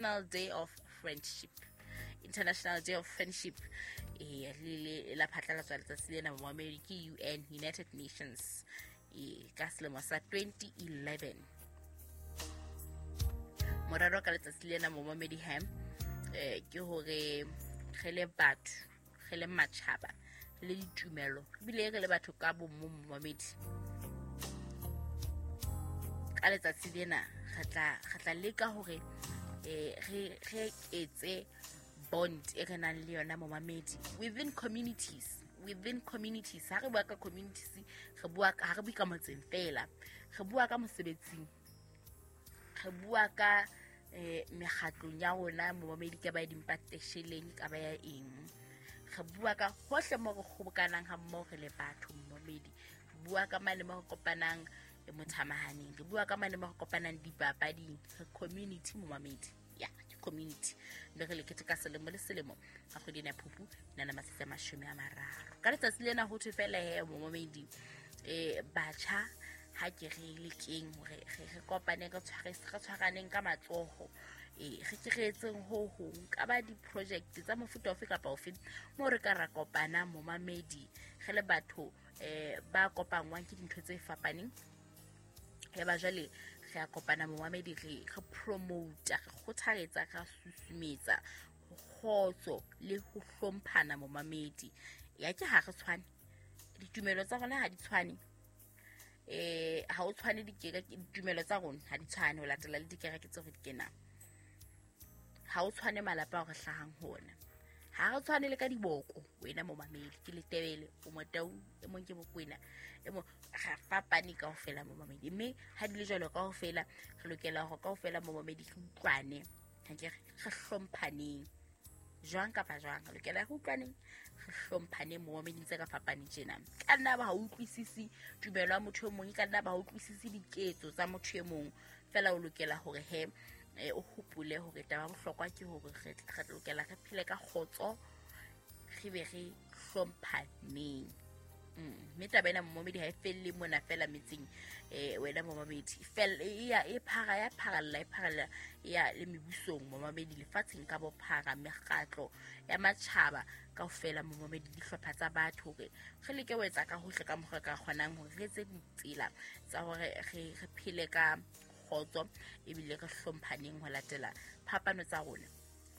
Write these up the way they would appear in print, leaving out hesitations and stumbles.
Day of Friendship. International Day of Friendship e le la phatlalatswa letsatsi lena momamedi ke UN, United Nations, e ka selemo sa 2011. Morero ka letsatsi lena, momamedi ham, ke hore re le batho, re le matjhaba le ditumelo, ebile re le batho ka bomong, momamedi, ka letsatsi lena re tla leka hore re etse bond e re nang le yona, momamedi, within communities. Within communities, ha re bua ka communities, re bua ha re bue ka motseng fela, re bua ka mosebetsing, re bua ka mekgatlong ya rona, momamedi, ka ba ya dimpatesheleng, ka ba ya eng, re bua ka hohle mo re kgobokanang ha mmoho re le batho, momamedi. Re bua ka mane mo re kopanang mothamahaneng, re bua ka mane mo re kopanang dipapading, re community, momamedi, ya ke community. Mme re le keteka selemo le selemo ka kgwedi ena ya Phupu nana matsatsi a 30. Ka letsatsi lena ho thwe fela he, momamedi, batjha, ha ke re lekeng hore re kopane, re tshwaraneng ka matsoho, re ke re etseng ho hong ka ba di-project tsa mofuta ofe kapa ofe moo re ka ra kopana, momamedi, re le batho ba kopangwang ke dintho tse fapaneng. Ya ba jwale re a kopana, momamedi, re promota, re kgothaletsa, re susumetsa kgotso le ho hlomphana, momamedi. Ya ke ha re tshwane, ditumelo tsa rona ha di tshwane, ha o tshwane dikereke, ditumelo tsa rona ha di tshwane ho latela le dikereke tseo re di kenang, ha o tshwane malapa ao re hlahang ho ona, ha re tshwane le ka diboko. Wena momamedi, ke Letebele, o Motau, e mong ke Bokwena, e mong, re fapane kaofela, momamedi. Mme ha di le jwalo kaofela, re lokela hore kaofela, momamedi, re utlwane, ha ke re hlomphaneng jwang kapa jwang, re lokela re utlwaneng, re hlomphaneng, momamedi, tse ka fapaneng tjena. Ka nna ba ha utlwisisi tumelo ya motho e mong, e ka nna ba ha utlwisisi diketso tsa motho e mong, fela o lokela hore he o hopole hore taba ya bohlokwa ke hore re lokela re phele ka kgotso, re be re hlomphaneng. Mme taba ena, momamedi, ha e felle mona fela metseng. Wena momamedi, ya e phara, ya pharalla, e pharalla ya le mebusong, momamedi, lefatsheng ka bophara, mekgatlo ya matjhaba kaofela, momamedi, dihlopha tsa batho, hore re leke ho etsa ka hohle ka mokgwa re ka kgonang hore re etse ditsela tsa hore re phele ka kgotso ebile re hlomphaneng ho latela phapano tsa rona,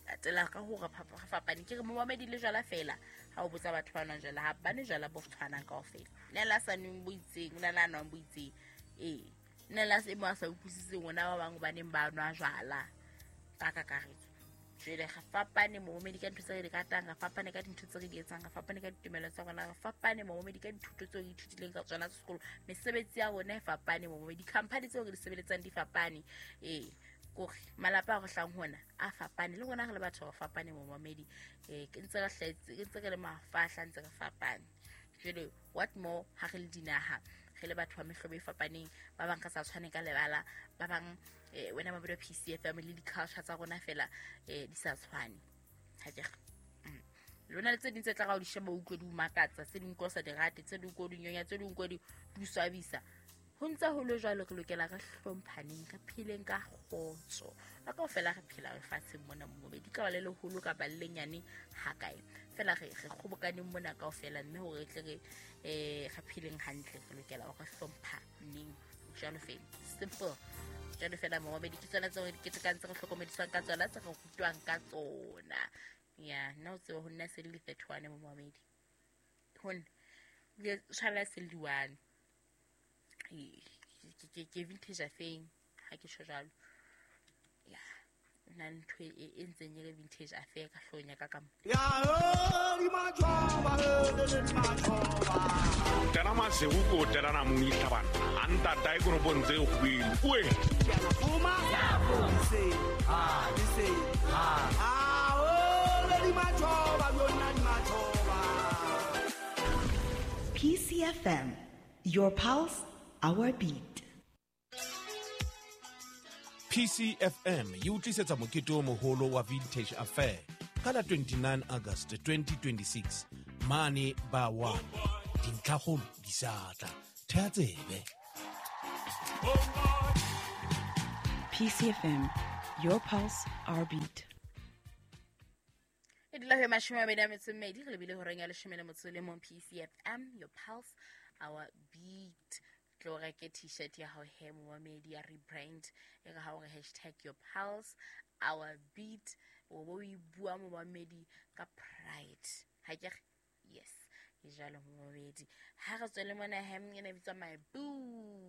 latela ka hore re fapane. Ke re, momamedi, le jwala fela, ha o botsa batho ba nwang jwala, ha ba nwe jwala bo tshwanang kaofela. Nna le a sa nweng bo itseng, o na le a nwang bo itseng, ee, nna le a se mo a sa utlwisiseng ona ba bang hobaneng ba nwa jwala ka kakaretso. Jwale re fapane, momamedi, ka ntho tse re di ratang, re fapane ka dintho tse re di etsang, re fapane ka ditumelo tsa rona, re fapane, momamedi, ka dithuto tseo re ithutileng ka tsona tsa sekolo, mesebetsi ya rona e fapane, momamedi, di-company tseo re di sebeletsang di fapane, ee, kore malapa a re hlang hona a fapane, le rona re le batho re fapane, momamedi, ke ntse re hlahetse, ke ntse re le mafahla, ntse re fapane. Jwale what more ha re le dinaha, re le batho ba mehlobo e fapaneng, ba bang re sa tshwane ka lebala, ba bang, wena mabedi wa PCFM, le di-culture tsa rona fela di sa tshwane, ha ke re? Lona le tse ding tse tla ga o di sheba, o utlwe di o makatsa, tse ding ko sa di rate, tse ding ko di nyonya, tse ding ko di o swabisa. Ho ntse ho le jwalo, re lokela re hlomphaneng, re pheleng ka kgotso ka kaofela re phela lefatsheng mona, momamedi, ka ba le leholo kapa le lenyane ha kae fela, re kgobokaneng mona kaofela. Mme hore re tle re pheleng hantle, re lokela hore re hlomphaneng jwalo fela, simple jwalo fela, momamedi. Ke tsona tseo re di ketekang, tse re hlokomediswang ka tsona, tse re rutwang ka tsona. Ya nna o tsebe ho nna se le di-31, momamedi, ho nna le tshwanela se le di-1. Ke vintage affair ha ke tjho jwalo, ya na ntho e ntseng e le vintage affair ka hloohong ya ka ka mo. Tena masego ko telana mong itlhabana a ntatae koropong tse kgwele oe. PCFM, your pulse, our beat. PCFM e o tlisetsa mokete o moholo wa Vintage Affair ka la 29 August 2026 mane ba 1. Dintlhakgolo di sa tla, thea tsebe. PCFM, your pulse, our beat. E dula ho 22 re lebile horeng ya 11 PCFM, your pulse, our beat. Tlo reke t-shirt ya hao he, momamedi, ya rebrand e re ha o re hashtag your pulse our beat, o bo o e bua, momamedi, ka pride. Ha ke re yes, e jalo, momamedi. Ha re tswele mona hem, e ne bitswa My Boo.